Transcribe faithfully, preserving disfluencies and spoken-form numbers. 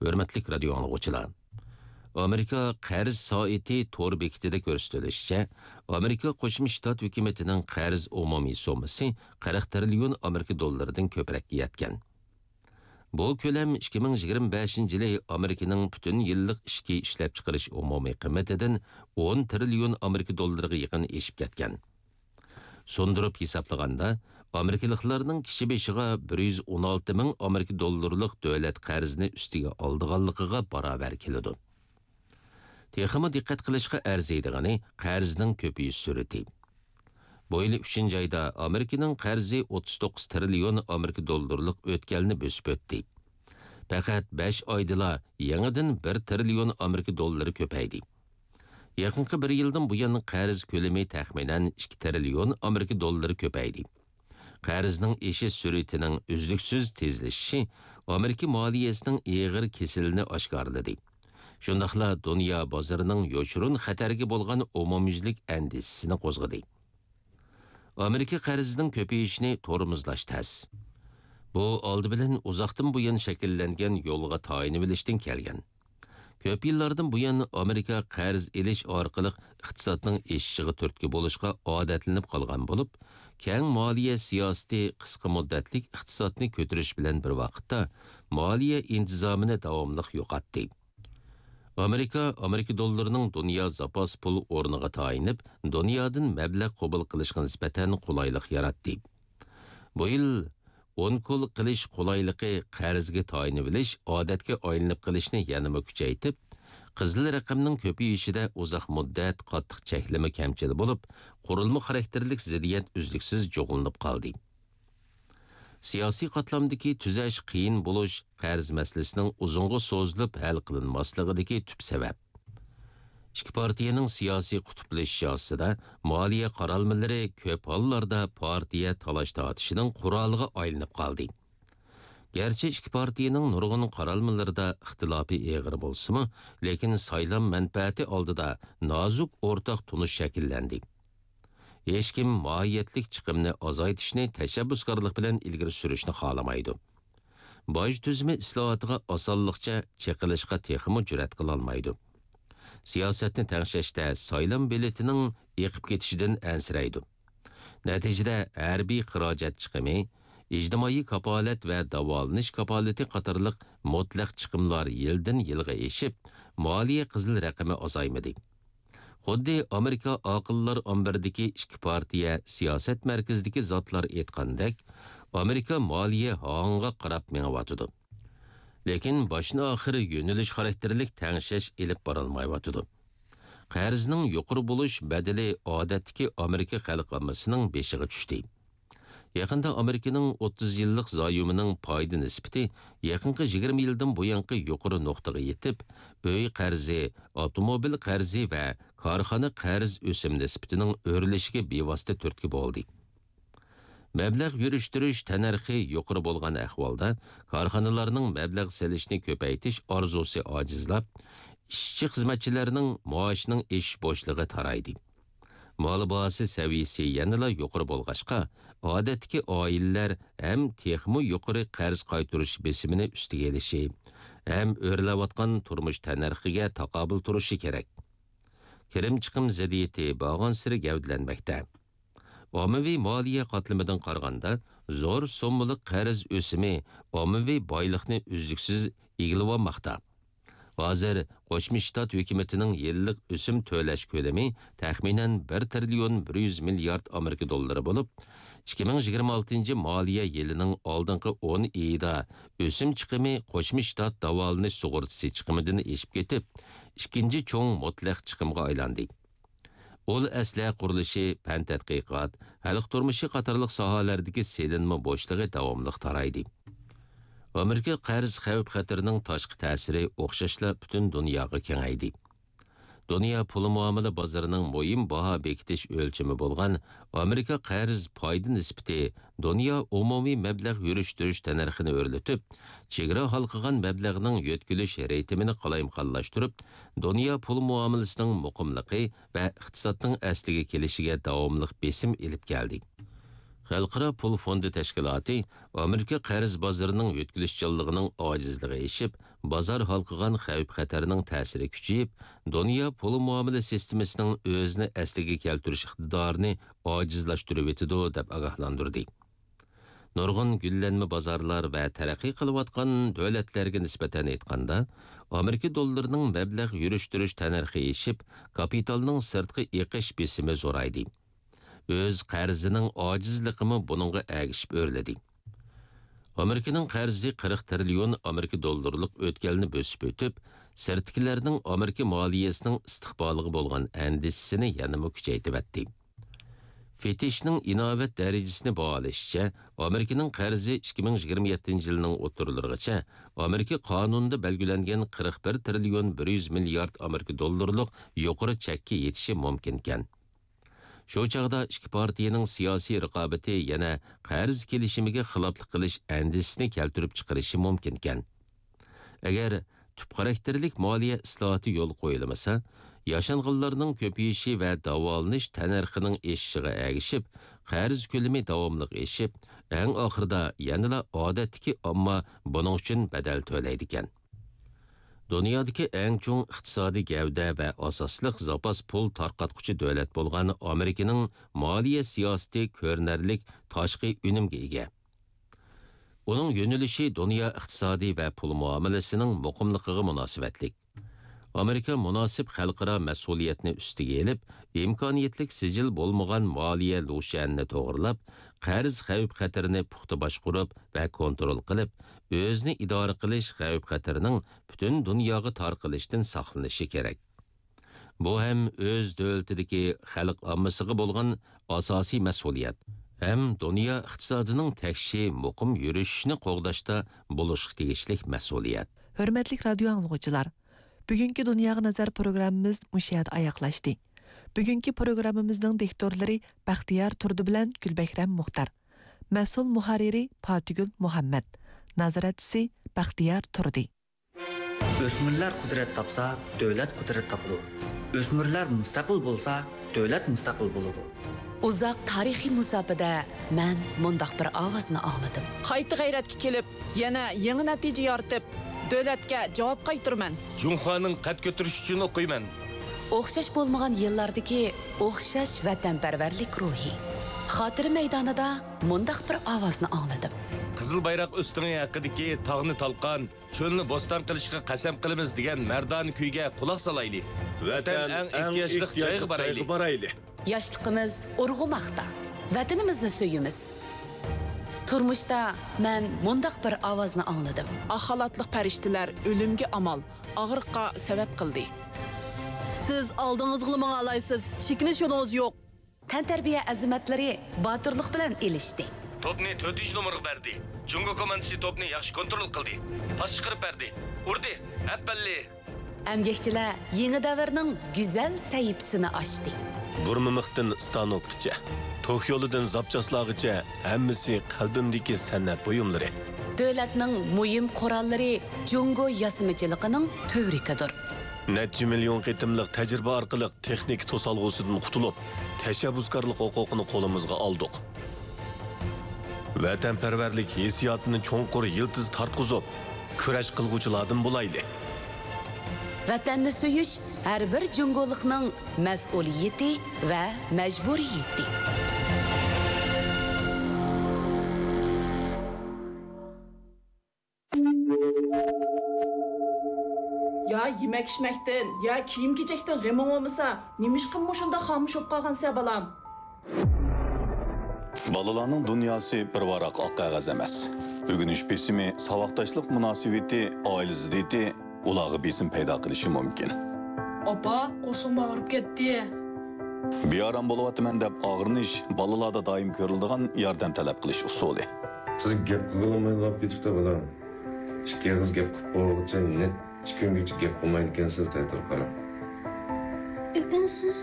ھۆرمەتلىك رادىيو ئاڭلىغۇچىلار! ئامېرىكا قەرز سائىتى تور بېكىتىدە كۆرسىتىلىشىچە، ئامېرىكا قوشما شتات ھۆكۈمىتىنىڭ قەرز ئومۇمىي سوممىسى قىرىق تىرىليون ئامېرىكا دوللىرىدىن كۆپرەككە يەتكەن. بۇ كۆلەم ئىككى مىڭ يىگىرمە بەشىنچى يىلى ئامېرىكىنىڭ پۈتۈن يىللىق ئىچكى ئىشلەپچىقىرىش ئومۇمىي قىممىتىدىن ئون تىرىليون ئامېرىكا دوللىرىغا يېقىن ئېشىپ كەتكەن. سۇندۇرۇپ ھېسابلىغاندا، ئامېرىكىلىقلارنىڭ كىشى بېشىغا بىر يۈز ئون ئالتە مىڭ ئامېرىكا دوللىرىلىق دۆلەت قەرزىنى ئۈستىگە ئالىدىغانلىقىغا باراۋەر كېلىدۇ. تېخىمۇ دىققەت قىلىشقا ئەرزىيدىغىنى قەرزنىڭ كۆپىيىش سۈرئىتى. بۇ يىل ئۈچىنچى ئايدا ئامېرىكىنىڭ قەرزى ئوتتۇز توققۇز تىرىليون ئامېرىكا دوللىرىلىق ئۆتكەلنى بۆسۈپ ئۆتتى. پەقەت بەش ئايدىلا يېڭىدىن بىر تىرىليون ئامېرىكا دوللىرى كۆپەيدى. يېقىنقى بىر يىلدىن بۇيان قەرز كۆلىمى تەخمىنەن ئىككى تىرىليون ئامېرىكا دوللىرى كۆپەيدى. قەرزنىڭ ئېشىش سۈرئىتىنىڭ ئۈزلۈكسىز تېزلىشىشى ئامېرىكا مالىيەسىنىڭ ئېغىر كېسىلىنى ئاشكارىلىدى. شۇنداقلا دۇنيا بازىرىنىڭ يوشۇرۇن خەتەرگە بولغان ئومۇميۈزلۈك ئەندىشىسىنى قوزغىدى. ئامېرىكا قەرزىنىڭ كۆپىيىشىنى تورمۇزلاش تەس. بۇ ئالدى بىلەن ئۇزاقتىن بۇيان شەكىللەنگەن يولغا تايىنىۋېلىشتىن كەلگەن. كۆپ يىللاردىن بۇيان ئامېرىكا قەرز ئېلىش ئارقىلىق ئىقتىسادنىڭ ئېشىشىغا تۈرتكە بولۇشقا ئادەتلىنىپ قالغان بولۇپ، كەڭ مالىيە سىياسىتى قىسقا مۇددەتلىك ئىقتىسادنى كۆتۈرۈش بىلەن بىر ۋاقىتتا مالىيە ئىنتىزامىنى داۋاملىق يوقاتتى. ئامېرىكا ئامېرىكا دوللىرىنىڭ دۇنيا زاپاس پۇل ئورنىغا تايىنىپ، دۇنيادىن مەبلەغ قوبۇل قىلىشقا نىسبەتەن قولايلىق ياراتتى. بۇ يىل ئونكول قىلىش قولايلىقى قەرزگە تايىنىۋېلىش ئادەتكە ئايلىنىپ قېلىشنى يەنىمۇ كۈچەيتىپ، قىزىل رەقەمنىڭ كۆپىيىشىدە ئۇزاق مۇددەت قاتتىق چەكلىمە كەمچىل بولۇپ، قۇرۇلما خاراكتېرلىك زىددىيەت ئۈزلۈكسىز جۇغلىنىپ قالدى. سىياسىي قاتلامدىكى تۈزەش قىيىن بولۇش قەرز مەسىلىسىنىڭ ئۇزۇنغا سوزۇلۇپ ھەل قىلىنماسلىقىدىكى تۈپ سەۋەب. ئىككى پارتىيەنىڭ سىياسىي قۇتۇپلىشىشى ئاستىدا مالىيە قارالمىلىرى كۆپ ھاللاردا پارتىيە تالاش-تارتىشىنىڭ قورالىغا ئايلىنىپ قالدى. گەرچە ئىككى پارتىيەنىڭ نۇرغۇن قارالمىلىرىدا ئىختىلاپى ئېغىر بولسىمۇ، لېكىن سايلام مەنپەئەتى ئالدىدا نازۇك ئورتاق تونۇش شەكىللەندى. ھېچكىم ماھىيەتلىك چىقىمنى ئازايتىشنى تەشەببۇسكارلىق بىلەن ئىلگىرى سۈرۈشنى خالىمايدۇ. باج تۈزۈمى ئىسلاھاتىغا ئاسانلىقچە چېقىلىشقا تېخىمۇ جۈرئەت قىلالمايدۇ. سىياسەتنى تەڭشەشتە سايلام بېلىتىنىڭ ئېقىپ كېتىشىدىن ئەنسىرەيدۇ. نەتىجىدە، ھەربىي خىراجەت چىقىمى، ئىجتىمائىي كاپالەت ۋە داۋالىنىش كاپالىتى قاتارلىق مۇتلەق چىقىملار يىلدىن يىلغا ئېشىپ، مالىيە قىزىل رەقىمى ئازايمىدى. خۇددى ئامېرىكا ئاقىللار ئامبىرىدىكى ئىككى پارتىيە سىياسەت مەركىزىدىكى زاتلار ئېيتقاندەك، ئامېرىكا مالىيە ھاڭغا قاراپ مېڭىۋاتىدۇ. لېكىن باشتىن-ئاخىر يۆنىلىش خاراكتېرلىك تەڭشەش ئېلىپ بارالمايۋاتىدۇ. قەرزنىڭ يۇقىرى بولۇش بەدىلى ئادەتتىكى ئامېرىكا خەلق ئاممىسىنىڭ بېشىغا چۈشتى. يېقىندا ئامېرىكىنىڭ ئوتتۇز يىللىق زايومىنىڭ پايدا نىسبىتى يېقىنقى يىگىرمە يىلدىن بۇيانقى يۇقىرى نۇقتىغا يېتىپ، ئۆي قەرزى، ئاپتوموبىل قەرزى ۋە كارخانا قەرز ئۆسۈم نىسبىتىنىڭ ئۆرلىشىگە بىۋاسىتە تۈرتكە بولدى. مەبلەغ يۈرۈشتۈرۈش تەننەرخى يۇقىرى بولغان ئەھۋالدا، كارخانىلارنىڭ مەبلەغ سېلىشنى كۆپەيتىش ئارزۇسى ئاجىزلاپ، ئىشچى-خىزمەتچىلەرنىڭ مائاشىنىڭ ئېشىش بوشلۇقى تارايدى. مال باھاسى سەۋىيەسى يەنىلا يۇقىرى بولغاچقا، ئادەتتىكى ئائىلىلەر ھەم تېخىمۇ يۇقىرى قەرز قايتۇرۇش بېسىمىنى ئۈستىگە ئېلىشى، ھەم ئۆرلەۋاتقان تۇرمۇش تەننەرخىگە تاقابىل تۇرۇشى كېرەك. كىرىم-چىقىم زىددىيىتى بارغانسېرى گەۋدىلەنمەكتە. ئاممىۋى مالىيە قاتلىمىدىن قارىغاندا، زور سوممىلىق قەرز ئۆسۈمى ئاممىۋى بايلىقنى ئۈزلۈكسىز ئىگىلىۋالماقتا. ھازىر قوشما شتات ھۆكۈمىتىنىڭ يىللىق ئۆسۈم تۆلەش كۆلىمى تەخمىنەن بىر تىرىليون بىر يۈز مىليارد ئامېرىكا دوللىرى بولۇپ، ئىككى مىڭ يىگىرمە ئالتىنچى مالىيە يىلىنىڭ ئالدىنقى ئون ئېيىدا ئۆسۈم چىقىمى قوشما شتات داۋالىنىش سۇغۇرتىسى چىقىمىدىن ئېشىپ كېتىپ، ئىككىنچى چوڭ مۇتلەق چىقىمغا ئايلاندى. ئۇل ئەسلىھە قۇرۇلۇشى، پەن تەتقىقات، خەلق تۇرمۇشى قاتارلىق ساھەلەردىكى سېلىنما بوشلۇقى داۋاملىق تارايدى. ئامېرىكا قەرز خەۋپ خەتىرىنىڭ تاشقى تەسىرى ئوخشاشلا پۈتۈن دۇنياغا كېڭەيدى. دۇنيا پۇل مۇئامىلە بازىرىنىڭ مۇھىم باھا بېكىتىش ئۆلچىمى بولغان ئامېرىكا قەرز پايدا نىسبىتى دۇنيا ئومۇمىي مەبلەغ يۈرۈشتۈرۈش تەننەرخىنى ئۆرلىتىپ، چېگرا ھالقىغان مەبلەغنىڭ يۆتكىلىش رىتىمىنى قالايمىقانلاشتۇرۇپ، دۇنيا پۇل مۇئامىلىسىنىڭ مۇقىملىقى ۋە ئىقتىسادنىڭ ئەسلىگە كېلىشىگە داۋاملىق بېسىم ئېلىپ كەلدى. خەلقئارا پۇل فوندى تەشكىلاتى ئامېرىكا قەرز بازىرىنىڭ يۆتكىلىشچانلىقىنىڭ ئاجىزلىقى ئېشىپ، بازار ھالقىغان خەۋپ-خەتەرنىڭ تەسىرى كۈچىيىپ، دۇنيا پۇل مۇئامىلە سىستېمىسىنىڭ ئۆزىنى ئەسلىگە كەلتۈرۈش ئىقتىدارىنى ئاجىزلاشتۇرۇۋېتىدۇ، دەپ ئاگاھلاندۇردى. نۇرغۇن گۈللەنمە بازارلار ۋە تەرەققىي قىلىۋاتقان دۆلەتلەرگە نىسبەتەن ئېيتقاندا، ئامېرىكا دوللىرىنىڭ مەبلەغ يۈرۈشتۈرۈش تەننەرخى ئېشىپ، كاپىتالنىڭ سىرتقا ئېقىش بېسىمى زورايدى. ئۆز قەرزىنىڭ ئاجىزلىقىمۇ بۇنىڭغا ئەگىشىپ ئۆرلىدى. ئامېرىكىنىڭ قەرزى قىرىق تىرىليون ئامېرىكا دوللىرىلىق ئۆتكەلنى بۆسۈپ ئۆتۈپ، سىرتتىكىلەرنىڭ ئامېرىكا مالىيەسىنىڭ ئىستىقبالىغا بولغان ئەندىشىسىنى يەنىمۇ كۈچەيتىۋەتتى. فىتچنىڭ ئىناۋەت دەرىجىسىنى باھالىشىچە، ئامېرىكىنىڭ قەرزى ئىككى مىڭ يىگىرمە يەتتىنچى يىلنىڭ ئوتتۇرىلىرىغىچە ئامېرىكا قانۇنىدا بەلگىلەنگەن قىرىق بىر تىرىليون بىر يۈز مىليارد ئامېرىكا دوللىرىلىق يۇقىرى چەككە يېتىشى مۇمكىنكەن. شۇ چاغدا ئىككى پارتىيىنىڭ سىياسىي رىقابىتى يەنە قەرز كېلىشىمىگە خىلاپلىق قىلىش ئەندىشىسىنى كەلتۈرۈپ چىقىرىشى مۇمكىنكەن. ئەگەر تۈپ خاراكتېرلىك مالىيە ئىسلاھاتى يولغا قويۇلمىسا، ياشانغانلارنىڭ كۆپىيىشى ۋە داۋالىنىش تەننەرخىنىڭ ئېشىشىغا ئەگىشىپ، قەرز كۆلىمى داۋاملىق ئېشىپ، ئەڭ ئاخىرىدا يەنىلا ئادەتتىكى ئامما بۇنىڭ ئۈچۈن بەدەل تۆلەيدىكەن. دۇنيادىكى ئەڭ چوڭ ئىقتىسادىي گەۋدە ۋە ئاساسلىق زاپاس پۇل تارقاتقۇچى دۆلەت بولغان ئامېرىكىنىڭ مالىيە سىياسىتى كۆرۈنەرلىك تاشقى ئۈنۈمگە ئىگە. ئۇنىڭ يۆنىلىشى دۇنيا ئىقتىسادى ۋە پۇل مۇئامىلىسىنىڭ مۇقىملىقىغا مۇناسىۋەتلىك. ئامېرىكا مۇناسىپ خەلقئارا مەسئۇلىيەتنى ئۈستىگە ئېلىپ، ئىمكانىيەتلىك سىجىل بولمىغان مالىيە لۇشيەنىنى توغرىلاپ، قەرز خەۋپ-خەتىرىنى پۇختا باشقۇرۇپ ۋە كونترول قىلىپ، ئۆزىنى ئىدارە قىلىش خەۋپ-خەتىرىنىڭ پۈتۈن دۇنياغا تارقىلىشتىن ساقلىنىشى كېرەك. بۇ ھەم ئۆز دۆلىتىدىكى خەلق ئاممىسىغا بولغان ئاساسىي مەسئۇلىيەت، ھەم دۇنيا ئىقتىسادىنىڭ تەكشى مۇقىم يۈرۈشۈشىنى قوغداشتا بولۇشقا تېگىشلىك مەسئۇلىيەت. ھۆرمەتلىك رادىيو ئاڭلىغۇچىلار، بۈگۈنكى دۇنياغا نەزەر پروگراممىمىز مۇشۇ يەردە ئاياغلاشتى. بۈگۈنكى پروگراممىمىزنىڭ دىكتورلىرى بەختىيار تۇردى بىلەن گۈلبەھرەم مۇختار. مەسئۇل مۇھەررىرى پاتىگۈل مۇھەممەد. نازارەتچىسى بەختىيار تۇردى. ئۆسمۈرلەر قۇدرەت تاپسا، دۆلەت قۇدرەت تاپىدۇ. ئۆسمۈرلەر مۇستەقىل بولسا، دۆلەت مۇستەقىل بولىدۇ. ئۇزاق تارىخىي مۇساپىدە مەن مۇنداق بىر ئاۋازنى ئاڭلىدىم. قايتا غەيرەتكە كېلىپ، يەنە يېڭى نەتىجە يارىتىپ، دۆلەتكە جاۋاب قايتۇرىمەن. جۇڭخۇانىڭ قەد كۆتۈرۈشى ئۈچۈن ئوقۇيمەن. ئوخشاش بولمىغان يىللاردىكى ئوخشاش ۋەتەنپەرۋەرلىك روھى. خاتىرە مەيدانىدا مۇنداق بىر ئاۋازنى ئاڭلىدىم. قىزىل بايراق ئۆستىڭى ھەققىدىكى تاغنى تالقان، چۆلنى بوستان قىلىشقا قەسەم قىلىمىز دېگەن مەردانە كۈيگە قۇلاق سالايلى. ۋەتەن ئەڭ ئېھتىياجلىق جايغا بارايلى. ياشلىقىمىز ئۇرغۇماقتا. ۋەتىنىمىزنى سۆيىمىز. تۇرمۇشتا مەن مۇنداق بىر ئاۋازنى ئاڭلىدىم. ئاق خالاتلىق پەرىشتىلەر ئۆلۈمگە ئامال، ئاغرىققا سەۋەب قىلدى. سىز ئالدىڭىزغىلا ماڭالايسىز، چېكىنىش يولىڭىز يوق. تەنتەربىيە ئەزىمەتلىرى باتۇرلۇق بىلەن ئېلىشتى. توپنى تۆتىنچى نومۇرغا بەردى. جۇڭگو كوماندىسى توپنى ياخشى كونترول قىلدى. پاس چىقىرىپ بەردى. ئۇردى. ئەپەللى! ئەمگەكچىلەر يېڭى دەۋرنىڭ گۈزەل سەھىپىسىنى ئاچتى. بۇرمىمىقتىن ستانوكقىچە، توك يولىدىن زاپچاسلارغىچە ھەممىسى قەلبىمدىكى سەنئەت بۇيۇملىرى. دۆلەتنىڭ مۇھىم قوراللىرى جۇڭگو ياسىمىچىلىقىنىڭ تۈۋرۈكىدۇر. نەچچە مىليون قېتىملىق تەجرىبە ئارقىلىق تېخنىكا توسالغۇسىدىن قۇتۇلۇپ، تەشەببۇسكارلىق ھوقۇقىنى قولىمىزغا ئالدۇق. ۋەتەنپەرۋەرلىك ھېسسىياتىنى چوڭقۇر يىلتىز تارتقۇزۇپ، كۈرەش قىلغۇچىلاردىن بولايلى. ۋەتەننى سۆيۈش ھەر بىر جۇڭگولۇقنىڭ مەسئۇلىيىتى ۋە مەجبۇرىيىتى. يا يېمەك-ئىچمەكتىن، يا كىيىم-كېچەكتىن غېمىڭ بولمىسا، نېمىشقا مۇشۇنداق خامۇش بولۇپ قالغانسەن، بالام؟ بالىلارنىڭ دۇنياسى بىر ۋاراق ئاق قەغەز ئەمەس. ئۆگىنىش بېسىمى، ساۋاقداشلىق مۇناسىۋىتى، ئائىلە زىددىيىتى ئۇلارغا بېسىم پەيدا قىلىشى مۇمكىن. ئاپا، قورسىقىم ئاغرىپ كەتتى. بىئارام بولۇۋاتىمەن دەپ ئاغرىنىش بالىلاردا دائىم كۆرۈلىدىغان ياردەم تەلەپ قىلىش ئۇسۇلى. سىز گەپ قىلغىلى بولمايدىغان بولۇپ كېتىپتۇ، بالام. ئىككى ئېغىز گەپ قىلىپ بولغۇچە نەچچە كۈنگىچە گەپ قىلمايدىكەنسىز، تەتۈر قاراپ. ئۆكۈنسىز،